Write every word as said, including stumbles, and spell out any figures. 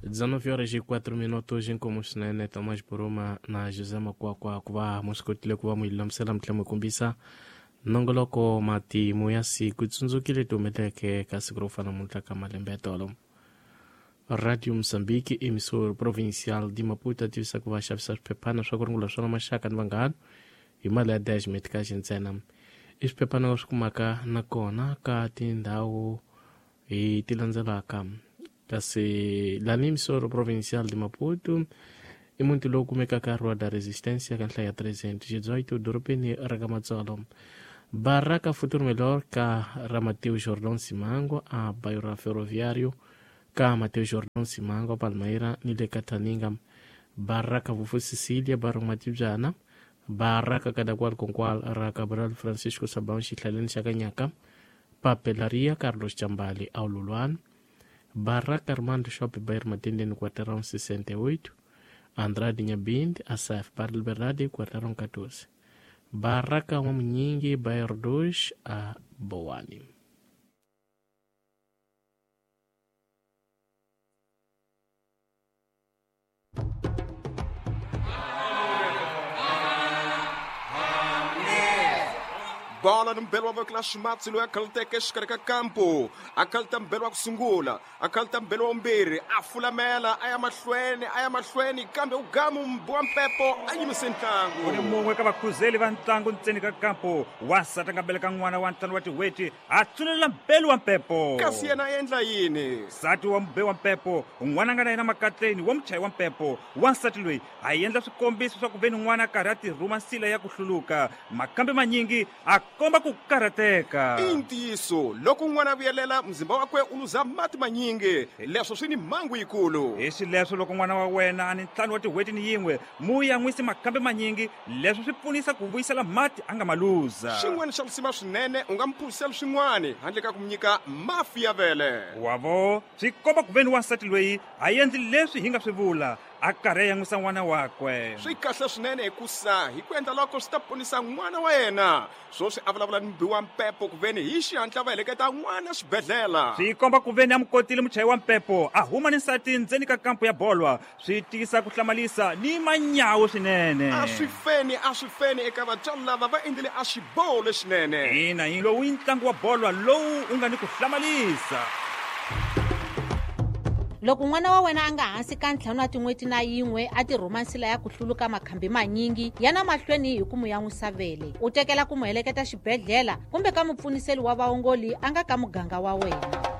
dezenove horas e quatro minutos inkomu swinene Thomas Buruma na José Makwakwa ku va mu swi kotile ku va mu lulamisela mi tlhela mi kombisa nongoloko matimu ya siku tsundzukile ti humeleke ka siku ro fana namuntlha ka malembe ya tolo. Radio Moçambique, emissor provincial de Maputo, tivisa ku va xavisa swiphephana swa ku rungula swona maxaka ni vanghana hi mali ya dez meticage ntsena. I swiphephana swi kumaka nakona ka tindhawu hi ti landzelaka. Kasi lani emissor provincial de Maputo i muti lowu kumekaka Rua da Resistência ka nhlayo ya trezentos e dezoito dorobeni ra ka Matsolo. Baraka Futuro Melhor ka ra Mateus Jordão Simango a bairro Ferroviário ka Mateus Jordão Simango Palmeira ni le ka Taninga. Baraka Vufu Cecília bairro Matibyana. Baraka Kadakwal Konkwal ra Cabral Francisco Sabão xihlaleni xa Kanyaka. Papelaria Carlos Chambali Aululwan. Baraka Armando Shop bairro Matendeni quarteirão sessenta e oito. Andrade Nhabinde, Asaf Barra Liberdade, quarteirão catorze. Baraka Wamunyingi, bairro dois, a Boane. Bola ni mbelo wa vekela ximatsi loyi a khaluteke exikarhi ka kampo a khaluta mbelo wa ku sungula a khaluta mbelo wa vumbirhi a fulamela a ya mahlweni a ya mahlweni kambe u gamu mbi wa mpepo a yimise ntlangu. U ni mun'we ka vakhuzeli va ntlangu ntseni ka kampo wansati a nga beleka n'wana wa ntlhanu wa tin'hweti a tsunelela mbelo wa mpepo. Kasi yena a endla yini? Nsati wa mube wa mpepo n'wana a nga na yena makatleni wa muchayi wa mpepo wansati loyi a endla swikombiso swa ku ve ni n'wana a karhi a tirhuma nsila ya ku hluluka makambe manyingi a komba ku karhateka. I ntiyiso loko n'wana a vuyelela muzimba wakwe u luza mati manyingi leswo swi ni mhangu yikulu. Hi xileswo loko n'wana wa wena a ni ntlhanu wa tin'hweti ni yin'we mu yan'wisi makambe manyingi leswo swi pfunisa ku vuyisela mati a nga ma luza. Xin'wana xa lisima swinene u nga mu phuzisela swin'wana handle ka ku mu nyika mafi ya vele. Wavo swi komba ku ve ni wansati loyi a endli leswi hi nga swi vula a karhi a yan'wisa n'wana wakwe. Swi kahle swinene hikusa hi ku endla loko swi ta ponisa n'wana wa yena. Swoswi a vulavula ni mubi wa mpepo ku veni hi xihatla va heleketa n'wana xibedhlele. Swi komba ku veni a mu kotile muchayi wa mpepo a huma ni nsati ndzeni ka kampo ya bolwa swi tiyisa ku hlamalisa ni manyawo swinene. A swi feni a swi feni eka vatswari lava va endlile a xiboho lexinene. Ina yi lowu i ntlangu wa bolwa lowu u nga ni ku hlamalisa. Loko n'wana wa wena a nga hansi ka ntlhanu wa tin'hweti na yin'we a tirhuma nsila ya ku hluluka makhambi manyingi ya na mahlweni hi ku mu yan'wisa vele u tekela ku mu heleketa xibedhlele kumbe ka mupfuniseli wa vaongoli a nga ka muganga wa wena.